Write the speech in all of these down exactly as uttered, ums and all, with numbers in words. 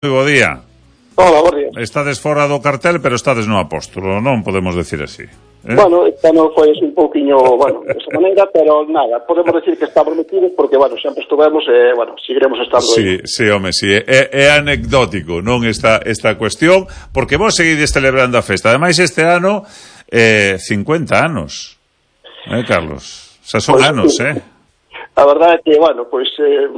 Moi bo día. Hola, bo día. Estades fora do cartel, pero estades no Apóstolo, non podemos decir así. Eh? Bueno, esta non foi un pouquiño, bueno, de esa maneira, pero nada, podemos decir que estamos metidos porque, bueno, sempre estuvemos e, eh, bueno, seguiremos estando sí, aí. Sí, home, sí, é, é anecdótico, non, esta, esta cuestión, porque vos seguides celebrando a festa. Ademais, este ano, eh, cincuenta anos, eh, Carlos? Xa son pues, anos, sí. eh? A verdade é que, bueno, pois... Pues, eh,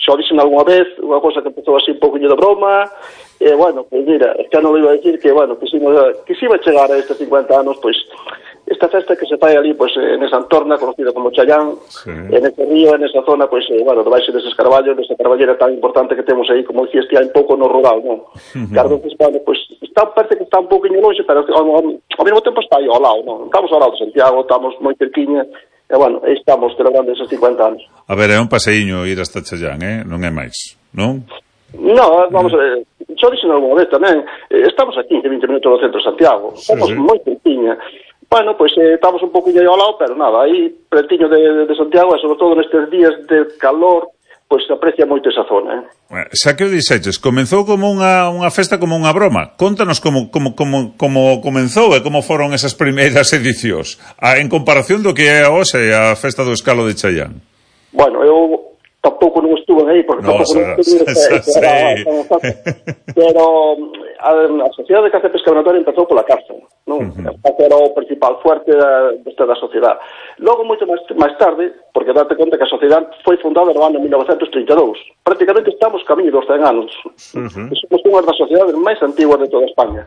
xa dixen algunha vez, unha cosa que empezou así un pouquinho de broma, e, bueno, pois mira, es que non iba a decir que, bueno, que se iba a chegar a estes cincuenta anos, pois, esta festa que se fai ali, pois, en esa entorna, conocida como Challán, sí. En ese río, en esa zona, pois, eh, bueno, debaixo deses carballos, desa carballera tan importante que temos aí, como dicías, que hai un pouco no rural, non? Uh-huh. Claro, pois, bueno, pois, está, parece que está un pouquinho longe, pero ao, ao, ao mesmo tempo está aí ao lado, non? Estamos ao lado de Santiago, estamos moi cerquiña, e, bueno, aí estamos celebrando esos cincuenta anos. A ver, é un paseíño ir hasta Challán, eh? Non é máis, non? No, vamos a ver, xo dixen algunha vez tamén, eh, estamos a quince, vinte minutos do centro de Santiago, estamos sí, sí. moi cerquiña. Bueno, pois pues, eh, estamos un pouquinho aí ao lado, pero nada, aí pretiño de, de Santiago, e sobre todo nestes días de calor, pois pues, se aprecia moito esa zona, eh? Xa que o dixeches, comenzou como unha, unha festa, como unha broma. Contanos como, como, como, como comenzou e como foron esas primeiras edicións, a, en comparación do que é hoxe a festa do Escalo de Challán. Bueno, eu tampouco non estuve aí, porque no, tampouco sa, non estuve sa, aí, sa, pero, pero a, a Sociedade de Caza e Pesca Venatoria empezou pola caza, non? Uh-huh. Era o principal fuerte da, desta da sociedade. Logo, moito máis, máis tarde, porque date conta que a sociedade foi fundada no ano mil novecentos trinta e dous. Prácticamente estamos camiño dos cen anos. Uh-huh. Somos unha das sociedades máis antiguas de toda España.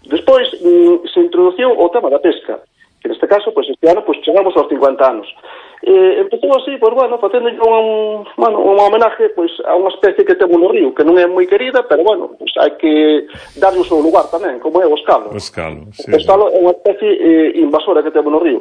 Despois, mm, se introduciu o tema da pesca, que neste caso, pois, este ano, pois, chegamos aos cincuenta anos. Eh, empezou así, pois, bueno, facendo un, bueno, un homenaje, pois, a unha especie que temos no río, que non é moi querida, pero, bueno, pois, hai que darlle o seu lugar tamén, como é o escalo. O escalo, sí. O escalo é unha especie eh, invasora que temos no río.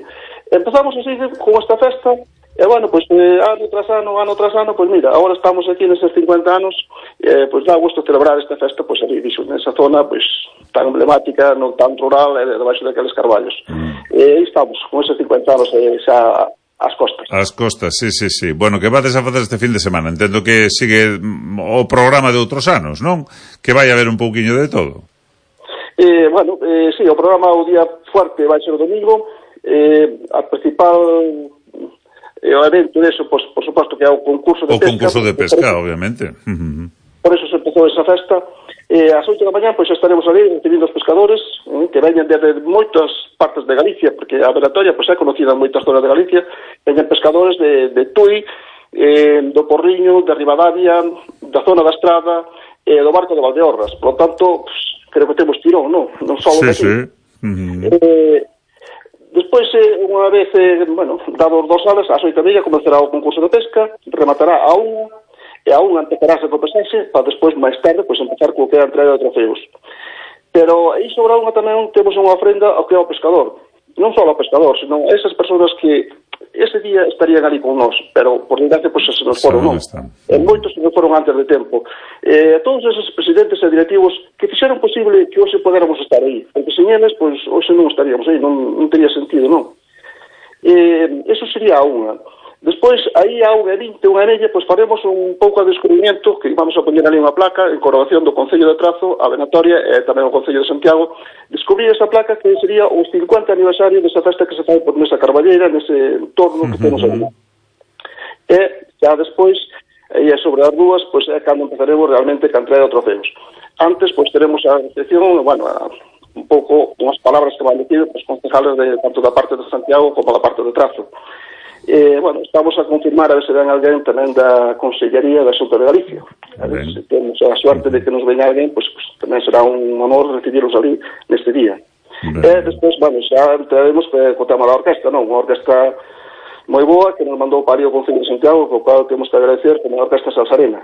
Empezamos así con esta festa, e, bueno, pois, eh, ano tras ano, ano tras ano, pois, mira, agora estamos aquí neses cincuenta anos, eh, pois, dá gusto celebrar esta festa, pois, ali, dixo, nesa zona, pois, tan emblemática, non tan rural, e debaixo daqueles carballos. Mm. E aí estamos, con eses cincuenta anos, eh, xa as costas. As costas, sí, sí, sí. Bueno, que vades a facer este fin de semana? Entendo que sigue o programa de outros anos, non? Que vai haber un pouquiño de todo. Eh, bueno, eh, sí, o programa o día fuerte vai ser o domingo. Eh, a principal eh, o evento deso, pues, por suposto que é o concurso de o pesca. O concurso de pesca, por, obviamente. Uh-huh. Por eso se empezou esa festa. Eh, ás oito da mañá, pois, pues, estaremos ali recibindo os pescadores, eh, que veñen desde moitas partes de Galicia, porque a Venatoria, pois, pues, é conocida en moitas zonas de Galicia, veñen pescadores de, de Tui, eh, do Porriño, de Ribadavia, da zona da Estrada, eh, do barco de Valdeorras. Por lo tanto, pues, creo que temos tirón, non? Non só sí, de aquí. Sí. Uh-huh. Eh, despois, eh, unha vez, eh, bueno, dados dos alas, ás oito e media, comenzará o concurso de pesca, rematará a unha, e a unha empezarase co pesarse, para despois, máis tarde, pois, empezar co que é a entrega de trofeos. Pero aí sobre a unha tamén temos unha ofrenda ao que é o pescador. Non só ao pescador, senón a esas persoas que ese día estarían ali con nós, pero por desgracia, pois, se nos foron, non? E moitos se nos foron antes de tempo. E a todos esos presidentes e directivos que fixeron posible que hoxe podéramos estar aí. Porque sen eles, pois, hoxe non estaríamos aí, non, non teria sentido, non? E eso sería unha. Despois, aí a unha e vinte, unha e media, pois faremos un pouco de descubrimento, que vamos a poñer ali unha placa en coronación do Concello de Trazo, a Venatoria e tamén o Concello de Santiago. Descubrir esa placa que sería o cincuenta aniversario desa festa que se fai por nesa carballeira, nese entorno que temos ali. E xa despois, aí sobre as rúas, pois é cando empezaremos realmente a entrega de trofeos. Antes, pois teremos a recepción, bueno, a, un pouco unhas palabras que van decir os concejales de, tanto da parte de Santiago como da parte de Trazo. Eh, bueno, estamos a confirmar a ver se ven alguén tamén da Consellería da Xunta de Galicia. A ver se temos a suerte de que nos venha alguén, pois, pues, tamén será un honor recibirlos ali neste día. Ben. E despois, bueno, xa entraremos co tema da orquesta, non? Unha orquesta moi boa que nos mandou para o Concello de Santiago, co cual temos que agradecer como a orquesta Salsarena.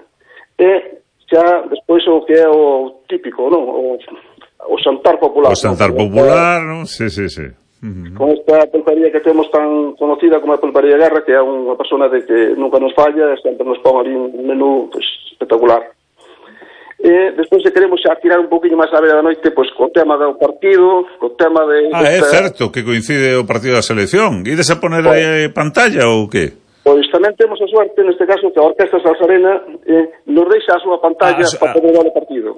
E xa despois o que é o típico, non? O, o xantar popular. O xantar non? popular, non? Sí, sí, sí. Uh-huh. Con esta pulpería que temos tan conocida como a Pulpería Guerra, que é unha persona de que nunca nos falla, sempre nos pon ali un menú pues, espectacular. E despois se queremos xa tirar un poquinho máis a vera da noite, pois co tema do partido, co tema de... Ah, é certo que coincide o partido da selección. Ides a poner aí pantalla ou que? Pois tamén temos a suerte, neste caso, que a Orquesta Salsarena eh, nos deixa a súa pantalla ah, para poder dar o partido.